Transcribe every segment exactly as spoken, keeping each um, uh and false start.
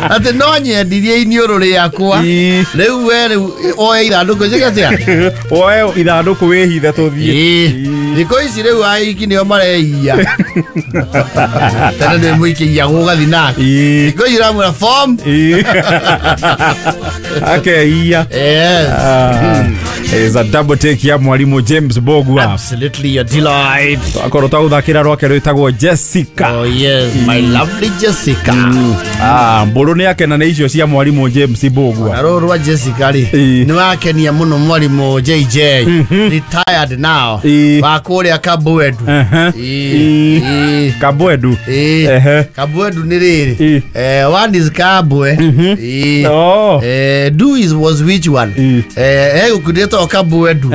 Atĩ no nyendirie iniũrũ rĩakwa. Rĩu we rĩu oe ithandũkũ njĩke atĩa? Oe ithandũkũ wĩhithe tũthiĩ. Thikũ ici rĩu aiki nĩo mareia. Tene nĩ mũikĩia gũgathiĩ nake. Thikũ ici ũramwĩra form. Akeia. Yes. Is a double take ya mwalimu James Bogwa. Absolutely a delight. Akorwo twagũthakĩra rwake rwĩtagwo Jessica. Oh yes, my lovely Jessica. Mm. Ah, mbũrũ nĩ akena nĩ icio cia mwalimu James Bogwa. Na rũrũ rwa Jessica rĩ nĩ wakenia mũno mwalimu J J. Retired now. Wa kũrĩa Kabwedu. Kabwedu. Kabwedu nĩ rĩrĩ. Eh, one is Kabwe. Oh. Eh, do is was which one? Eh, eh gũkundĩtwo Kabwedu.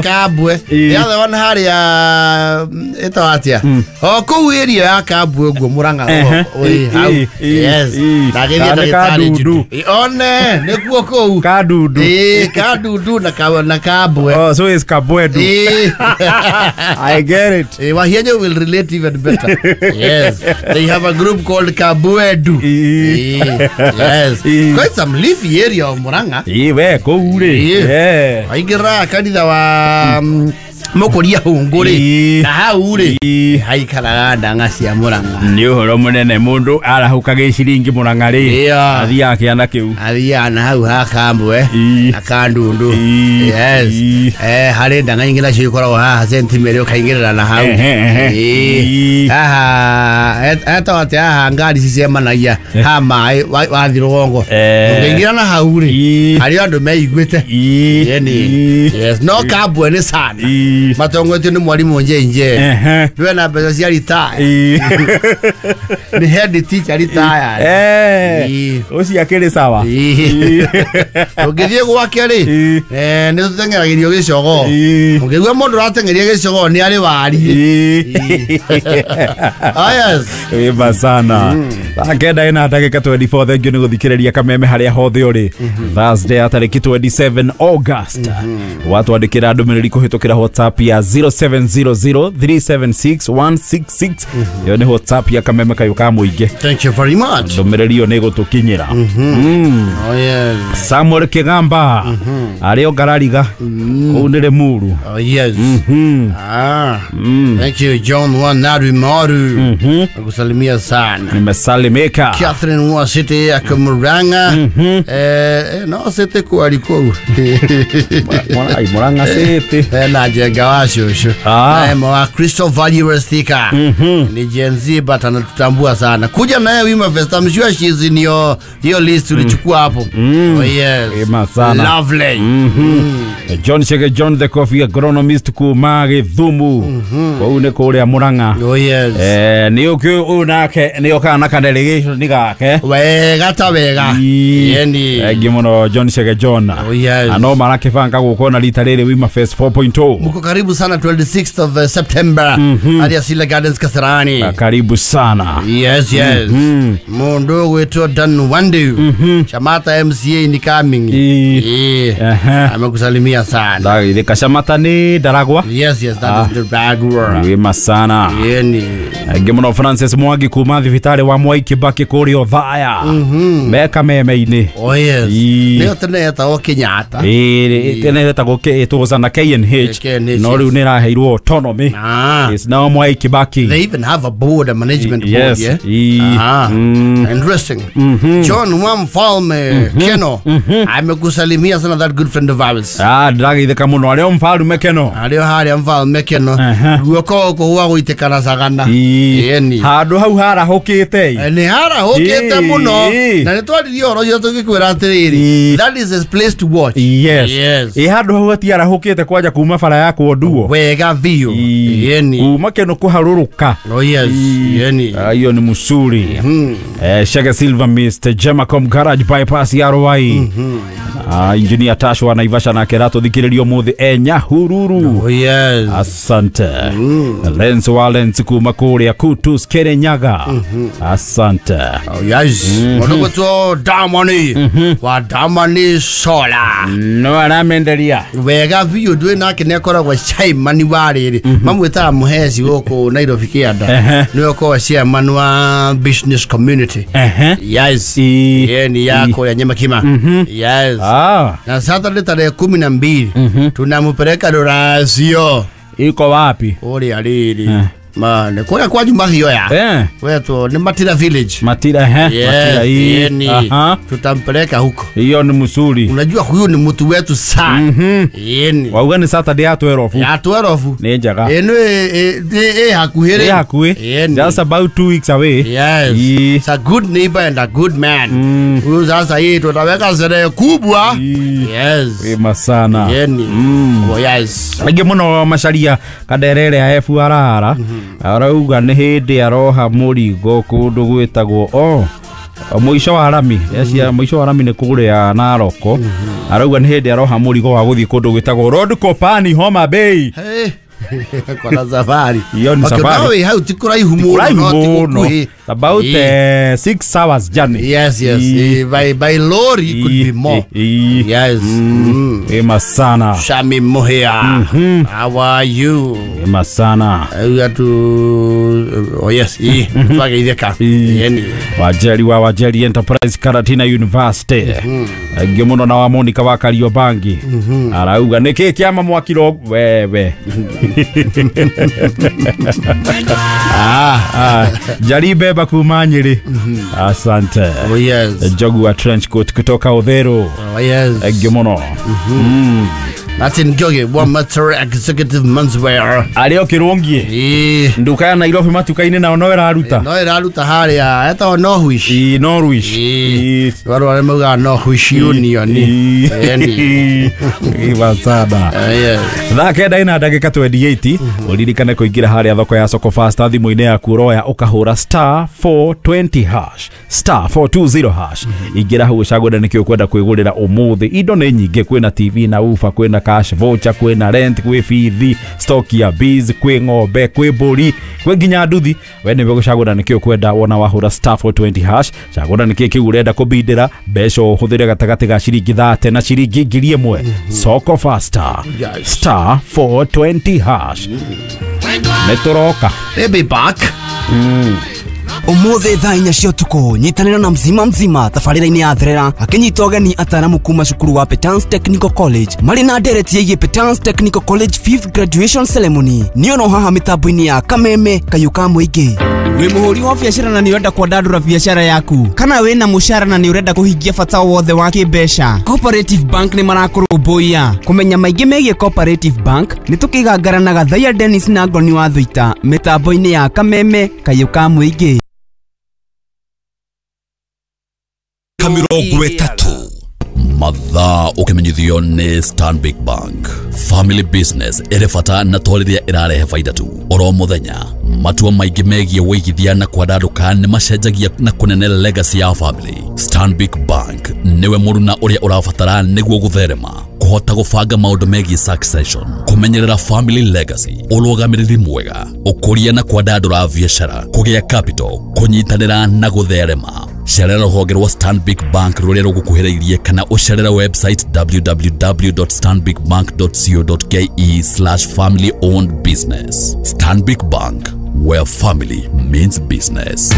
Kabwe. The other one harĩa ĩtagwo atĩa? O kũu area ya Kabwe ũguo Murang'a. Hau. Yes. Na gĩthiĩ ndagĩtarĩ Jude. One nĩkuo kũu. Kadundu. Eh, Kadundu na ka na Kabwe. Oh, so it's Kabwedu. I get it. Eh, Wahienyo will relate even better. Yes. They have a group called Kabwedu. Yes. Quite some leafy area of Murang'a. Eh, we kũu rĩ. Eh. Aingĩra kanitha wa Mũkũria Hũngũ rĩ. Na hau rĩ haikaraga ndang'a cia Murang'a. Nĩ ũhoro mũnene mũndũ arahũka gĩciringi Murang'a rĩ. Athiaga kĩanda kĩu. Athiaga na hau ha Kambwe na Kandundu. Yes. Eh, harĩ ndang'a ingĩ nacio ikoragwo haha Saint Mary ũkaingĩrĩra na hau. Haha etagwo atĩa haha ngari cicemanagia ha maĩ wathiĩ rũgongo. Ũngĩingĩra na hau rĩ harĩ andũ meiguĩte. Yes. No Kabwe nĩ sana. Matongoretio nĩ mwalimu J J. Ndwe na mbeca cia retire. Nĩ head teacher retired. Eh. Ũcio akĩrĩ sawa. Ũngĩthiĩ gwake rĩ eh nĩ tũteng'eragĩrio gĩcogo. Ũngĩigua mũndũ ũrateng'eria gĩcogo nĩ arĩ wariĩ. Ah yes. Wĩma sana. Thaa kenda ĩna ndagĩka twenty-four. Thank you nĩ gũthikĩrĩria kameme harĩa hothe ũrĩ. Thursday ya tarĩki twenty-seven August. Watwandĩkĩra ndũmĩrĩri kũhĩtũkĩra WhatsApp ya zero seven zero zero three seven six one six six. Ĩyo nĩ WhatsApp ya kameme kayũ ka mũingĩ. Thank you very much. Ndũmĩrĩri ĩyo nĩ ĩgũtũkinyĩra. Oh yes. Samuel Kigamba. Arĩ o Ngarariga. Kũu nĩ Limuru. Oh yes. Ah. Thank you John Wanari Maru. Nakusalimia sana. Nimesalimika. Catherine wa City ya Murang'a. Eh, no City kwari kũu. Murang'a City. Eh, na Jenga wa shosho. Na wa Crystal Valley Westika. Ni Gen Z but anatutambua sana. Kuja naye Wima Fest, I'm sure she's in your your list tulichukua hapo. Oh yes. Ema sana. Lovely. John Shege John the Coffee agronomist kuma Githumu. Kũu nĩ kũrĩa Murang'a. Oh yes. Eh, nĩ ũkĩ ũyũ nake nĩ okaga na ka delegation nĩ gake. Wega ta wega. Yeni. Thank you mũno John Shege John. Oh yes. Ano marakĩbanga gũkona rita rĩrĩ Wima Fest four point oh. Mko karibu sana twenty-sixth of uh, September. Hadi Asila Gardens Kasarani. Karibu sana. Yes yes. Mundu wetu Dan Wandu. Shamata M C A ni coming. Eh. Amekusalimia sana. Ndagithika Shamata ni Daragwa. Yes yes, that is the Daragwa. Wima sana. Yeni. Thank mũno Francis Mwangi kuma thibitarĩ wa Mwai Kibaki kũrĩa Othaya. Meka meme-inĩ. Oh yes. Nĩyo tene yetagwo Kenyatta. Ĩĩ tene yetagwo ĩtũgũca na K N H. No rĩu nĩ ĩraheirwo autonomy. It's now Mwai Kibaki. They even have a board, a management board, yeah. Ah. Interesting. John Wamfalme Keno. Amekusalimia sana, that good friend of ours. Ah, ndagithika mũno arĩa Mfalme Keno. Arĩa harĩa Mfalme Keno. Guoko gũkũ gwa gũitĩkana cagana. Yeni. Handũ hau harahũkĩte. Nĩ harahũkĩte mũno. Na nĩ twaririe ũhoro ũcio tũgĩkwĩra atĩrĩrĩ. That is a place to watch. Yes. Yes. Ĩ handũ hau hatiarahũkĩte kwanja kuma bara ya Kũonduo. Wega biũ. Yeni. Kuma Keno kũharũrũka. Oh yes. Yeni. Hiyo ni musuri. Eh, Shege Silver Mister Gemacom Garage Bypass ya Ruai. Ah, Engineer Tash wa Naivasha nake ratũthikĩrĩrio mũthĩ e Nyahururu. Oh yes. Asante. Lens wa Lens kuma kũrĩa kũrĩa Kutus Kirinyaga. Asante. Oh, yes. Mũndũ gwĩtwo Damani wa Damani Solar. No aramenderia wega biũ, ndwĩ nake nĩ akoragwo chairman wa rĩrĩ mamwĩtaga mũheci gũkũ Nairobi kĩanda, Ehe. nĩwe ũkoragwo chairman wa business community. Ehe. Yes. I- Ye ni ya kũrĩa Nyamakima. Yes. Ah, na Saturday tarehe kumi na mbili tunamupeleka ruracio. Iko wapi? Kũrĩa rĩrĩ mane kũrĩa kwa Jumahioya Eh, wetwo nĩ Matira village. Matira, ehe. Matira Yes, hii. yeni Aha. tutampeleka huko. Hiyo ni msuri. Unajua huyu ni mtu wetu sana. Mhm. Yeni Wauga ni Saturday ya twelve. Ya twelve. Nĩ njega. Ĩno ĩ hakuhĩ Nĩ hakuhĩ. Yeni. Just about two weeks away. Yes. Ii. It's a good neighbor and a good man. Mm. Huyu sasa hii tutaweka sherehe kubwa. Ii. Yes. Wema sana. Yeni. Mm. Oh, yes. Aingĩ mũno macaria kanderere ya F R R arauga nĩ hĩndĩ aroha mũrigo kũndũ gwĩtagwo o mũico wa rami cia mũico wa rami nĩ kũrĩa Naroko, arauga nĩ hĩndĩ aroha mũrigo wa gũthiĩ kũndũ gwĩtagwo Road Kopani, Homa Bay. Hey. Kona safari. Hiyo ni Okay, safari. nawe hau ti kũraihu mũno, Kũraihu no ti mũno. gũkuhĩ. About Ii. eh, six hours journey. Yes, yes. Ii. Eh, by by lorry could be more. Ii. Yes. Mm. Wema sana. Shami Muhia. How are you? Wema sana. We got to, oh yes, eh, twageithĩka. Ii. Yeni. Wajeri wa Wajeri Enterprise Karatina University aingĩ mũno na wa Monica wa Kariobangi arauga nĩkĩ kĩama mwakiro wewe. Ah. Ah, Jari Beba kuma Nyĩrĩ, asante. Oh yes. Njogu wa trench coat kutoka Uthiru. Oh yes. Aingĩ mũno. Martin Ngioge wa Matter Executive Menswear. Arĩ o kĩrũngiĩ Eh. nduka ya Nairobi matuka-inĩ nao no ĩraruta. No ĩraruta harĩa etagwo Norwish. Ii, Norwish. Ii. Ii. Warũ arĩa maugaga Norwish Union. Yeni. Iwa sana. Eh, yes. Thaa kenda ina ndagĩka mĩrongo ĩrĩ na nyanya, ũririkane kũingĩra harĩa thoko ya Soko Fasta thimũ-inĩ yaku, ũroya ũkahũra star four twenty hash, star four twenty hash. Ingĩra hau ũcagũre nĩkĩ ũkwenda kwĩgũrĩra ũmũthĩ. Indo nĩ nyingĩ, kwĩna T V na ufa, kwĩna cash voucher, kwĩna rent, kwĩ bithi, stock ya bees, kwĩ ng'ombe, kwĩ mbũri, kwĩ nginya nduthi. We nĩwe gũcagũra nĩkĩ ũkwenda. Wona wahũra star four twenty hash, cagũra nĩkĩ kĩu ũrenda kũbindĩra, mbeca ũhũthĩre gatagatĩ ga ciringi thate na ciringi ngiri ĩmwe. Soko Fasta. Yes. Star four twenty hash. Nĩ tũroka. They'll be back. Umuthi thaa inya cia ũtukũ, nyitanĩra na Mzima Mzima tabarĩra-inĩ ya Therera akĩnyita ũgeni ataramu kuma cukuru wa Petans Technical College marĩ na ndereti ĩgiĩ Petans Technical College fifth graduation ceremony. Nĩ ono haha mĩtambo-inĩ ya Kameme kayũ ka mũingĩ. Wĩ mũhũri wa biacara na nĩ ũrenda kwandandũra biacara yaku, kana wĩna mũcara na nĩ ũrenda kũhingia bata wothe wa kĩmbeca, Cooperative Bank nĩ marakũrũmbũiya. Kũmenya maingĩ megiĩ Cooperative Bank nĩ tũkĩgangara na Gathaiya Dennis na Ngoni wa Thuita mĩtambo-inĩ ya Kameme kayũ ka mũingĩ. Mĩrongo ĩtatũ mathaa ũkĩmenyithio nĩ Stanbic Bank. Family business ĩrĩ bata na to rĩrĩa ĩrarehe baida tu. Oro mũthenya matua maingĩ megiĩ wĩigithia na kwandandũka nĩ macenjagia na kũnene legacy ya family. Stanbic Bank nĩwe mũruna ũrĩa ũrabatara nĩguo gũtherema, kũhota gũbanga maũndũ megiĩ succession, kũmenyerera family legacy, ũrũgamĩrĩri mwega, ũkũria na kwandandũra biacara, kũgĩa capital, kũnyitanĩra na gũtherema. Cerera rũhonge rwa Stanbic Bank rũrĩa rũgũkuhĩrĩirie kana ũcerere website w w w dot stanbicbank dot co dot k e slash family owned business. Stanbic Bank, where family means business.